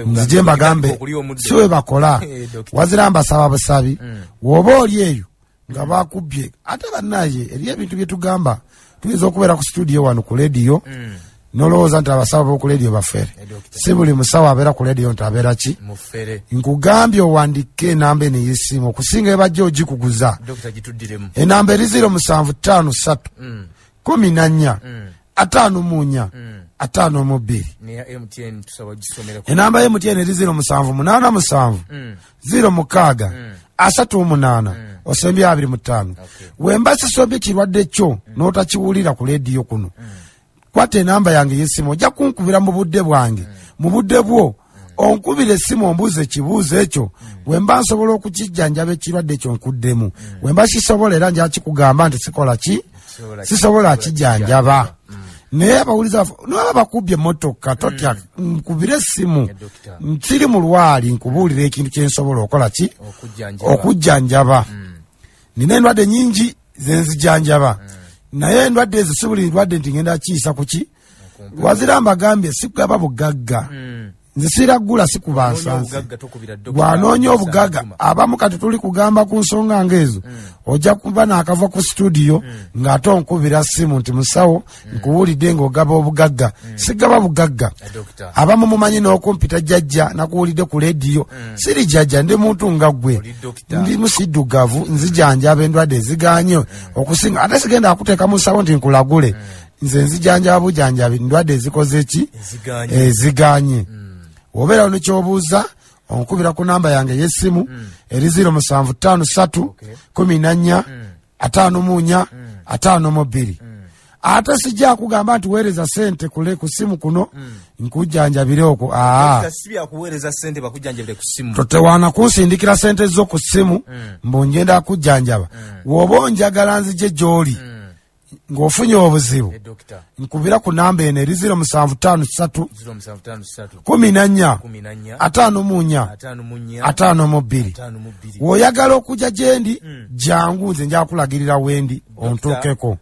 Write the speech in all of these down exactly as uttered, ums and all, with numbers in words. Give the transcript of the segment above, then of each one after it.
Nzije mbagambe si we bakola. Wazira mbasaba busabi, woba oli eyo nga bakubbye. Ate bannaye eriyo ebintu bye tugamba, tuyinza okubeera ku studio wano ku lediyo nolowooza nti abasawo b'oku lediyo bafere. Si buli musawo abeera ku lediyo nti abeera ki nkugambye owandike enamba eno ey'essimu okusinga ebajja ogikuguza. Enamba eri ziro musanvu ttaano ssatu kumi na nnya ataano mu nnya ataano mu bbiri. Enamba ya M T N eri ziro musanvu munaana musanvu ziro mukaaga asatu munaana osembye abiri mu ttaano. Wemba sisombye kirwadde kyo n'otakiwulira ku lediyo kuno, kwata enamba yange y'essimu ojja kunkubira mu budde bwange, mu budde bwo onkubira essimu ombuuze ekibuuzo ekyo. Wemba nsobola okukijjanjaba ekirwadde ekyo nkuddemu, wemba kisobola era nja kikugamba nti sikola ki, sisobola kijjanjaba. Naye abawuliza naba bakubbye emmotoka totya, nkubire essimu nsiri mulwali nkubuulira ekintu kye nsobola okola ki, okujjanjaba. Nina endwadde nnyingi ze nzijanjaba, naye endwadde ezo si buli ndwadde nti ngenda kiyisa ku ki. Wazira mbagambye sikugaba bugagga, nze siragula sikuba nsansi. Bw'anoonya obugagga abamu kati tuli kugamba ku nsonga ng'ezo, ojja kuba naakava ku studio ng'ate onkubira ssimu nti musawo nkuwulidde ng'ogaba obugagga. Sigaba bugagga. Abamu mumanyi n'okumpita jjajja, nakuwulidde ku lediyo. Siri jjajja, ndi muntu nga ggwe, ndi musiddugavu, nzijanjaba endwadde eziganye okusinga. Ate sigenda akuteeka mu nsawo nti nkulagule, nze nzijanjaba bujanjabi ndwadde ezikoze ki, eziganye. Obeera nekyobuuza onkubira ku namba yange ey'essimu eri ziro musanvu ttaano ssatu kumi na nnya ataano mu nnya ataano mu bbiri. Ate sijja kugamba nti weereza ssente kule ku ssimu kuno nkujjanjabire okwo. Aa, totewaana kunsindikira ssente zo ku ssimu mbu ngenda kujjanjaba. Bw'oba onjagala nzije gy'oli ng'ofunye obuzibu, nkubira ku namba eno eri ziro musanvu ttaano ssatu kumi na nnya ataano mu nnya ataano mu bbiri. W'oyagala okujja gye ndi jangu, nze nja kulagirira wendi ontuukeko.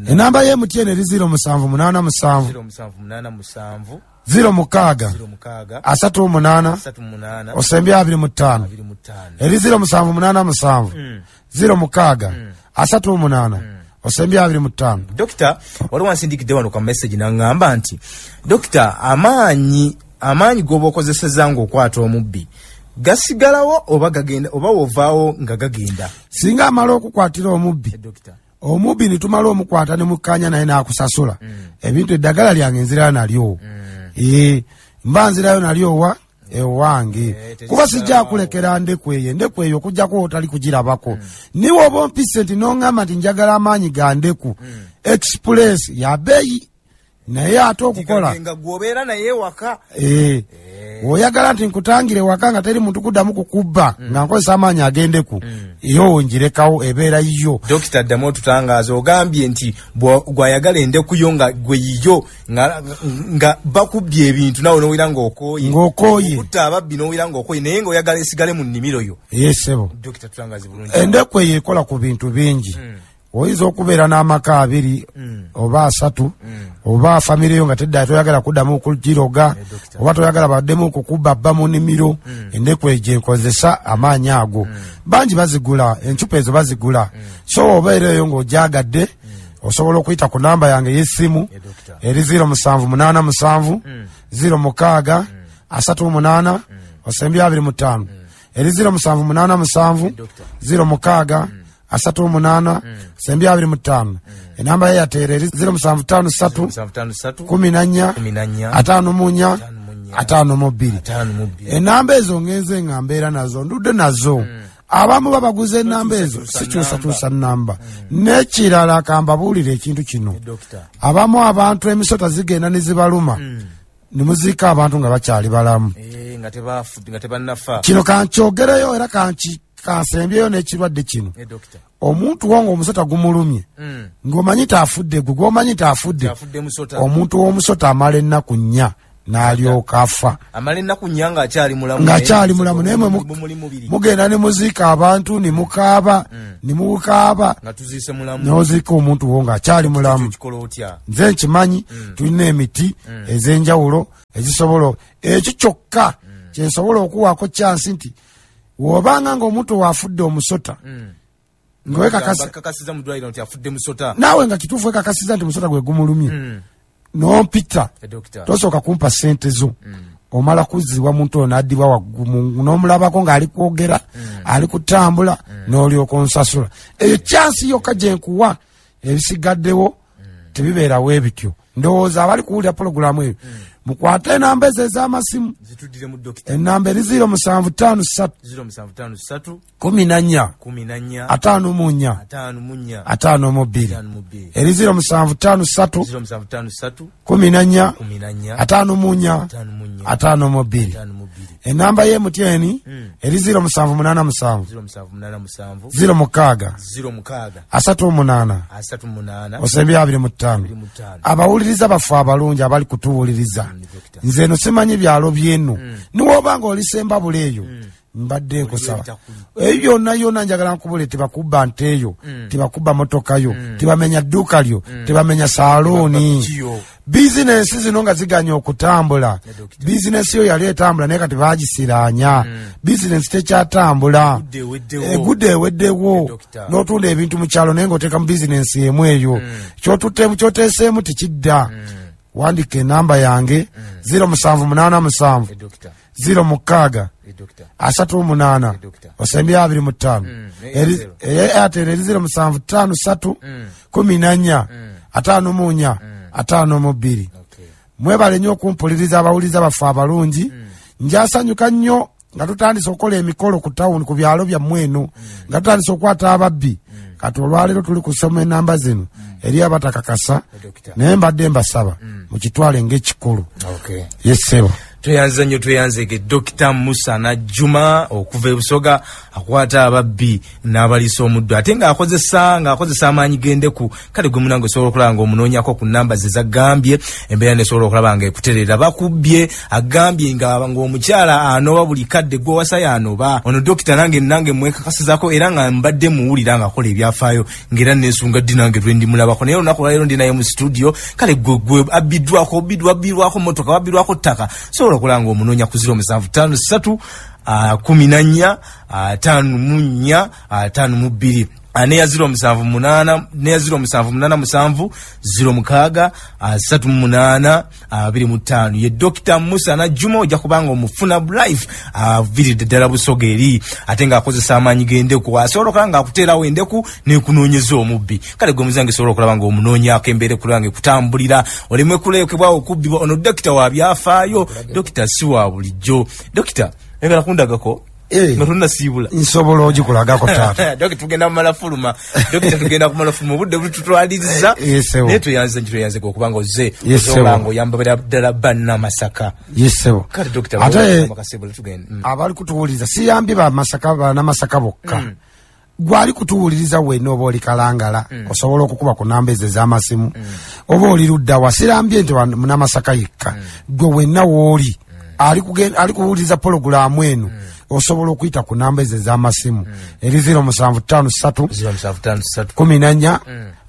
Enamba ya M T N eri ziro musanvu munaana musanvu ziro mukaaga asatu munaana osembye abiri mu ttaano. Eri ziro musanvu munaana musanvu ziro mukaaga asatu munaana osembye abiri mu ttaano. Dokita, waliwo ansindikidde wano ka message n'aŋŋamba nti dokita, amaanyi amaanyi g'oba okozesezza ng'okwata omubbi gasigalawo oba gagenda, oba wovaawo nga gagenda? Singa amala okukwatira omubbi, omubbi ne tumala omukwata ne mukkaanya naye n'akusasula ebintu, eddagala lyange nzirayo nalyo. Ee, mba nzirayo nalyo wa ewange, kuba sijja kulekera ndeku eyo, endeku eyo okujjako otali kugirabako. Niwe oba ompise nti n'oŋŋamba nti njagala amaanyi ga ndeku express ya bbeeyi, naye ate okukola gwobeera naye waka. Ee, oyagala nti nkutangire waka nga teri muntu kuddamu kukubba nga nkozesa amaanyi ag'endeku, yo ngirekawo ebeera yiyo. Dokita, ddamu otutangaaza, ogambye nti gwayagala endeku yo nga gwe yiyo, nga bakubbye ebintu nawe n'owulira ng'okooye, ng'okooye okutta ababbi n'owulira ng'okooye, naye ng'oyagala esigale mu nnimiro yo. Ye ssebo. Dokita, tutangaaze bulungi. Endeku eyo ekola ku bintu bingi. Oyinza okubeera n'amaka abiri oba asatu oba famire yo nga tedda toyagala kuddamu kugiroga, oba toyagala baddemu kukubba bba mu nnimiro, endeku eyo gye nkozesa amaanyi ago. Bangi bazigula encupa ezo bazigula. So obeera eyo ng'ogyagadde osobola okuyita ku namba yange ey'essimu eri ziro musanvu munaana musanvu ziro mukaaga asatu munaana osembye abiri mu ttaano. Eri ziro musanvu munaana musanvu ziro mukaaga asatu munaana sembye abiri mu ttaano. Enamba ye yateera eri ziro musanvu ttaano ssatu kumi na nnya ataano mu nnya ataano mu bbiri. Enamba ezo ngenze nga mbeera nazo, ndudde nazo. Abamu babaguza enamba ezo, sikyusakyusa nnamba. N'ekirala kambabuulire ekintu kino, abamu abantu emisota zigenda ne zibaluma ne muziika abantu nga bakyali balamu. Kino kankyogereyo era kanki kansembyeyo n'ekirwadde kino. Omuntu wo ng'omusota gumulumye ng'omanyi taafudde, gwe gw'omanyi taafudde, omuntu w'omusota amala ennaku nnya n'alyoka afa. Amala ennaku nnya ng'akyali mulamu. Ng'akyali mulamu, naye mwe mugenda ne muziika abantu ne mukaaba ne mukaaba nga tuziise mulamu, n'oziika omuntu wo ng'akyali mulamu. Nze nkimanyi tulina emiti ez'enjawulo ezisobola ekyo kyokka kyensobola okuwaako kyansi nti wobanga ng'omuntu waafudde omusota ng'wekakasiza mu ddwaliro nti afudde musota, naawe nga kituufu wekakasiza nti musota gwe gumulumye, n'ompita tosooka kumpa ssente zo, omala kuzzibwa muntu oyo n'addibwa waggulu n'omulabako ng'ali kwogera ali kutambula n'olyoka onsasula. Eyo kyansi yokka gye nkuwa, ebisigaddewo tebibeerawo ebityo. Ndowooza abali kuwulira pulogulaamu eyo mukwate enamba ezo ez'amasimu, enamba eri ziro musanvu ttaano ssatu kumi na nnya ataano mu nnya ataano mu bbiri, eri ziro musanvu ttaano ssatu kumi na nnya ataano mu nnya ataano mu bbiri. Enamba y'M T N eri ziro musanvu munaana musanvu ziro mukaaga asatu munaana osembye abiri mu ttaano. Abawuliriza baffe abalungi abali kutuwuliriza, nze eno simanyi byalo byeno, niwoba nga olisembabula eyo mbadde nkusaba eyo yonna yonna njagala nkubule, tebakubba nte eyo, tebakubba motoka yo, tebamenya dduuka lyo, tebamenya saaluuni. Bizinensi zino nga ziganya okutambula, bizinensi yo yali etambula naye kati bagisiraanya, bizinensi tekyatambula, egudde eweddewo. N'otunda ebintu mu kyalo naye ng'oteeka mu bizinensi emu eyo, kyoteeseemu tekidda. Wandika enamba yange ziro musanvu munaana musanvu ziro mukaaga asatu munaana osembye abiri mu ttaano. Airtel eri ziro musanvu ttaano ssatu kumi na nnya ataano mu nnya ataano mu bbiri. Mwebale nnyo okumpuliriza abawuliriza baffe abalungi. Njasanyuka nnyo nga tutandise okukola emikolo ku tawuni ku byalo byammwe eno, nga tutandise okukwata ababbi. Kati olwaleero tuli kusoma enamba zino eri abatakakasa, naye mbadde mbasaba mukitwale ng'ekikulu. Yessebo. Tweyanze nnyo, tweyanzege Dokita Musa Najjuma okuva e Busoga, akwata ababbi n'abaliisa omuddo ate ng'akozesa ng'akozesa amaanyi g'endeku. Kale gwe munange osobola okulaba ng'omunoonyako ku namba ze zagambye, embeera nesobola okulaba nga ekuterera. Bakubbye agambye ng'omukyala anoba buli kadde, gwe wasayo anoba. Ono dokita nange nange mwekakasizako era nga mbadde muwulira ng'akola ebyafaayo, ng'era neesunga ddi nange lwe ndimulabako, naye olunaku olwaleero ndi naye mu studio. Kale gwe gwe abbiddwako, wabbirwako motoka, wabbirwako ttaka, sobola okulaba ng'omunoonya ku ziro musanvu ttaano ssatu kumi na nnya ataano mu nnya ataano mu bbiri, neya ziro musanvu munaana, neya ziro musanvu munaana musanvu ziro mukaaga asatu munaana abiri mu ttaano. Ye Dokita Musa Najjuma, ojja kubanga omufuna live, aviiridde ddala Busoga eri, ate ng'akozesa amaanyi g'endeku, asobola okulaba ng'akuteerawo endeku n'ekunoonyeza omubbi. Kale gwe muzange sobola okulaba ng'omunoonyaako embeera ekulaba ng'ekutambulira, oleme kulekebwawo okubbibwa. Ono dokita wa byafaayo, dokita si wa bulijjo. Dokita, oyagala kundagako nga tonnasiibula? Nsobola ogikulagako taata. Dokita, tugenda kumala fuluma, dokita, tugenda kumala fuluma, obudde bututwaliriza, naye tweyanze nti tweyanze okubanga ozze osobola nga oyamba ddala bannamasaka. Yesebo. Kale dokita, ate abali kutuwuliriza, siyambye bamasaka bannamasaka bokka, gwali kutuwuliriza wenna oba oli Kalangala, osobola okukuba ku namba ezo ez'amasimu, oba oli luddawa, sirambye nti munamasaka yekka, gwe wenna wooli ali kuwuliriza pologulaamu eno, osobola okuyita ku namba ezo ez'amasimu eri ziro musanvu ttaano ssatu kumi na nnya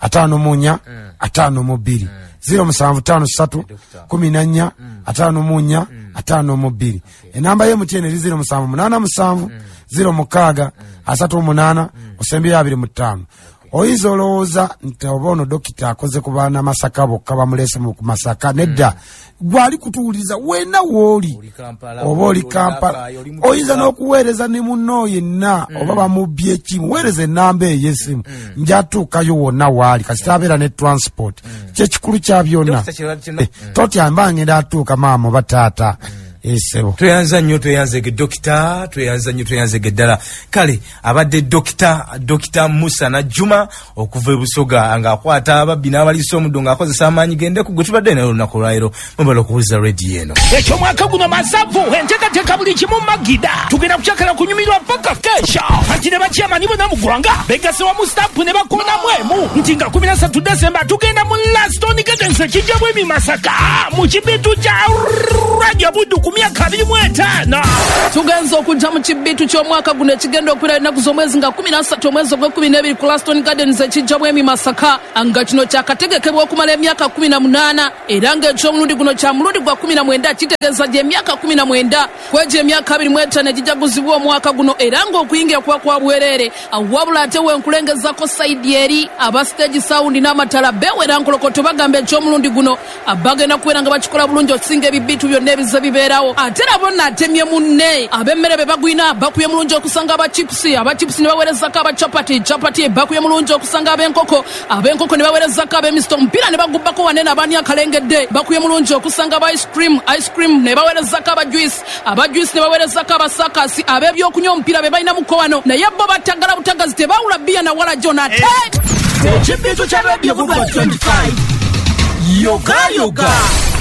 ataano mu nnya ataano mu bbiri, ziro musanvu ttaano ssatu kumi na nnya ataano mu nnya ataano mu bbiri. Enamba y'M T N eri ziro musanvu munaana musanvu ziro mukaaga asatu munaana osembyeyo abiri mu ttaano. Oyinza olowooza nti oba ono dokita akoze ku bannamasaka bokka, bamuleese ku Masaka. Nedda, gwali kutuwuliriza wenna wooli, oba oli Kampala, oyinza n'okuweereza ne munno yenna oba bamubbye ekimu, weereza enamba eyo y'essimu, njatuukayo wonna waali kasita abeera ne transport. Kyekikulu kya byonna, totya mba ngenda atuuka maama oba taata. Esebo. Tweyanza nnyo, tweyanzege dokita, tweyanza nnyo, tweyanzege ddala. Kale abadde dokita Dokita Musa Najjuma okuva e Busoga, ng'akwata ababbi n'abaliisa omuddo ng'akozesa amaanyi g'endeku, gwe tubadde naye olunaku olwaleero. Mwebale okuwuliza rediyo eno. Ekyomwaka guno masavu, enteekateeka buli kimu magida, tugenda kukyakala kunyumirwa paka kesha. Anti ne bakyamani bonna mu ggwanga begasse wamu stampu ne bakonamu emu nti nga kumi na ssatu Desemba tugenda mu Laston Gardens ekijjabwemi Masaka mu kibitu kya Jjajja Buddu ku myaka abiri mu etaano. Tugenze okujja mu kibitu ky'omwaka guno ekigenda okubeera ennaku z'omwezi nga kumi na ssatu omwezi ogw'ekkumi n'ebiri ku Laston Gardens ekijja Bwemi Masaka, nga kino kyakategekebwa okumala emyaka kumi na munaana era ng'eky'omulundi guno kya mulundi gwa kumi na mwenda, kitegeeza gy'emyaka kumi na mwenda kwegyo emyaka abiri mu etaano egijaguzibwa omwaka guno, era ng'okuyingira kuba kwa bwereere. Wabula ate wenkulengezako sayidi eri aba stage sound n'amatala bewera nkolokoto bagamba eky'omulundi guno bagenda kubeera nga bakikola bulungi okusinga ebibitu byonna ebize bibeerawo. Ate nabo naatemye munne ab'emmere be bagwina bakuye mulungi okusanga aba chips, aba chips ne baweerezako aba chapati, chapati bakuye mulungi okusanga ab'enkoko, ab'enkoko ne baweerezako ab'emisito, omupiira ne bagubbako wanene abaani akalengedde bakuye mulungi okusanga aba ice cream, ice cream ne baweerezako aba juice, aba juice ne baweerezako abasakasi, ab'ebyokunywa omupiira be balina muko wano, naye bo batagala butagazi tebawula bbiya na wala gyona. Ate ekibitu kya Radio Buddu twenty-five yoga yoga.